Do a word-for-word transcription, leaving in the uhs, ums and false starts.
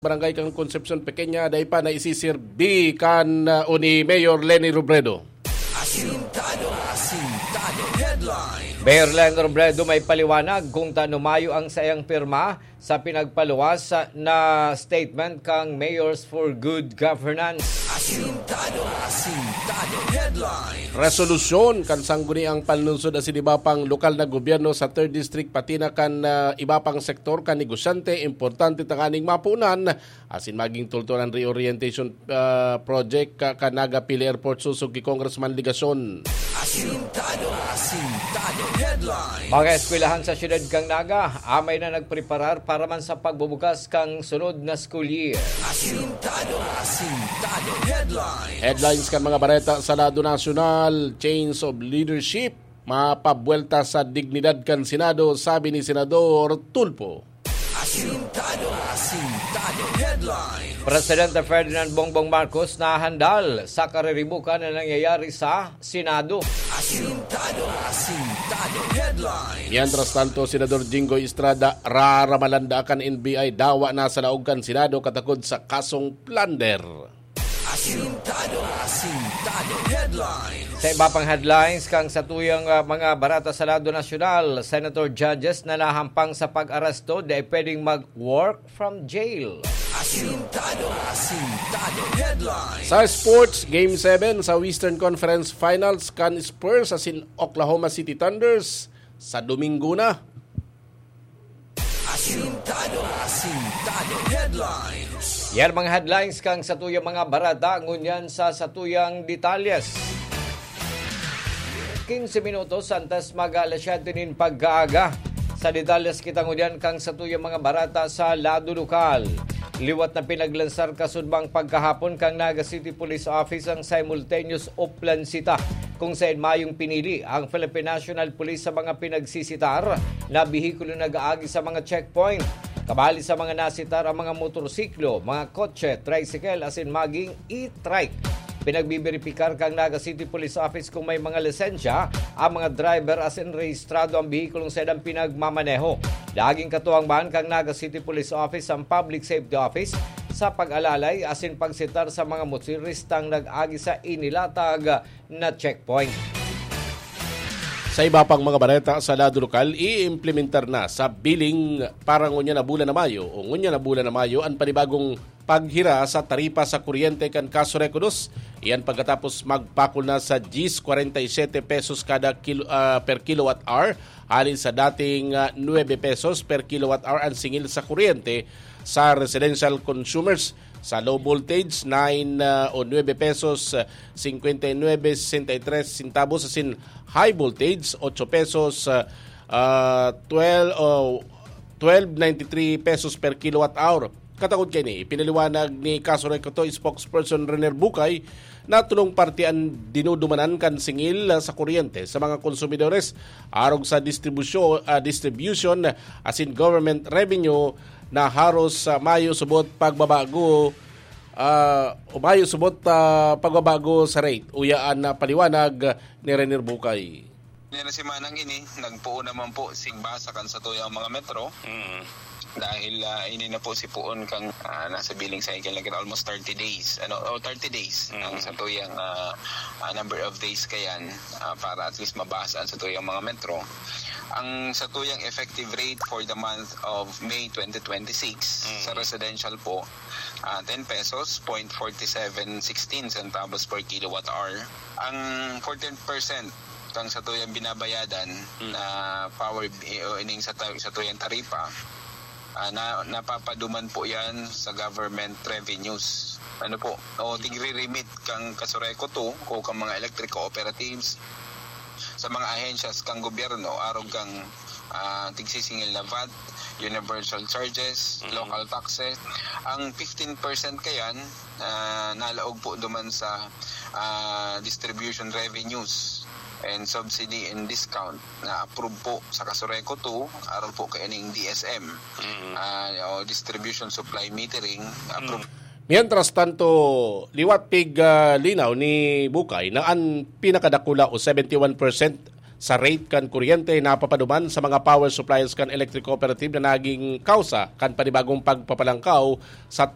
Barangay kan Concepcion Pequeña, dai pa naisisirbi kan, ah, o ni Mayor Leni Robredo. Asintado, asintado headline. Mayor Leni Robredo may paliwanag kung tano mayo ang saiyang pirma sa pinagpaluwas na statement kang Mayors for Good Governance. Asintado, asintado headline. Resolusyon kan sangguniang panlungsod asin iba pang lokal na gobyerno sa Third District, pati na kan, ah, iba pang sektor kan negosyante, importante tanganing mapunan asin maging tultol an reorientation, ah, project ka, kan Naga Pili Airport sosog ki Congressman Legacion. Asintado, asintado headline. Mga eskwelahan sa siyudad kan Naga, amay na nagpreparar para man sa pagbubukas kan sunod na school year. Asintado, asintado headline. Headlines kan mga bareta sa lado nasyonal, change of leadership, mapabuwelta sa dignidad kan Senado, sabi ni Senador Tulfo. Asintado, asintado headline. Presidente Ferdinand Bongbong Marcos nahandal sa kariribukan na nangyayari sa Senado. Asintado, asintado headline. Mientras tanto, Senador Jinggoy Estrada, raramalan daa kan N B I, dawa na sa laog kan Senado katakod sa kasong plunder. Asintado, asintado headline. Sa iba pang headlines, kan satuyang, ah, mga bareta sa lado nasyonal, senator judges na nahampang sa pag-aresto, dai pwedeng mag-work from jail. Asintado, asintado headline. Sa sports, Game seven sa Western Conference Finals kan Spurs asin Oklahoma City Thunders sa Domingo na. Asintado, asintado headlines. Yan mga headlines kan satuyang mga bareta, ngunyan sa satuyang detalyes. Quince minutos antes mag alas siyete nin pagkaaga. Sa detalyes kita ngunyan kan satuyang mga bareta sa lado lokal. Liwat na pinaglansar kasudmang pagkahapon kan Naga City Police Office ang simultaneous oplansita, kung saen mayong pinili ang Philippine National Police sa mga pinagsisitar na behikulo nag-aagi sa mga checkpoint. Kabali sa mga nasitar ang mga motorsiklo, mga kotse, tricycle asin maging e-trike. Pinagbibiripikar kan Naga City Police Office kung may mga lisensya ang mga driver asin rehistrado ang behikulong saindang pinagmamaneho. Daging katuwang man kan Naga City Police Office ang Public Safety Office sa pag-alalay asin pagsitar sa mga motoristang nag-agi sa inilatag na checkpoint. Sa iba pang mga bareta sa lado lokal, iimplementar na sa billing para ngunyan na bulan na Mayo o ngunyan na bulan na Mayo an panibagong paghira sa taripa sa kuryente kan Casureco dos. Iyan pagkatapos magpakol na sa diyes kwarenta y sete pesos kada kilo, ah, per kilowatt hour, hali sa dating, ah, nuebe pesos per kilowatt hour an singil sa kuryente sa residential consumers. Sa low voltage, nine, ah, o nuebe pesos, ah, singkwenta y nuebe sesenta y tres centavos, asin high voltage, ocho pesos, ah, ah, twelve, o twelve ninety-three pesos per kilowatt hour. Katakod kaini, ipinaliwanag ni Casureco to spokesperson Rener Bucay na tolong parte an dinudumanan kan singil, ah, sa kuryente sa mga konsumidores arog sa distribusyo-, ah, distribution asin government revenue na haros, ah, mayo subot pagbabago, ah, o mayo subot, ah, pagbabago sa rate. Uya an, ah, paliwanag ni Rener Bucay. Nila semanang ini, nagpoon naman po si Basa kan satuyang mga metro. Mm. Dahil, ah, ini na po si poon kang, ah, nasa billing cycle na kita, almost thirty days. Ano, oh, thirty days Mm. ang satuyang, ah, ah, number of days kayan, ah, para at least mabasa ang satuyang mga metro. Ang satuyang effective rate for the month of May twenty twenty-six Mm. sa residential po, ah, ten pesos, point forty seven sixteen centavos per kilowatt hour. Ang fourteen percent kang satuyang binabayadan Mm. na power bi-, o ining sa ta-, satuyang taripa, ah, na, napapaduman po yan sa government revenues. Ano po? O tigre-remit kang Casureco two o kang mga electric cooperatives sa mga ahensyas kang gobyerno, arog kang, ah, tigsisingil na vat, universal charges, Mm. local taxes. Ang fifteen percent kayan, ah, nalaog po duman sa, ah, distribution revenues and subsidy and discount na approve po sa Casureco two, arog po kaining D S M, Mm. ah, o distribution supply metering, approve. Mm. Mientras tanto, liwat pig, ah, linaw ni Bucay na an pinakadakula o seventy one percent sa rate kan kuryente napapaduman sa mga power suppliers kan electric cooperative na naging kausa kan panibagong pagpapalangkaw sa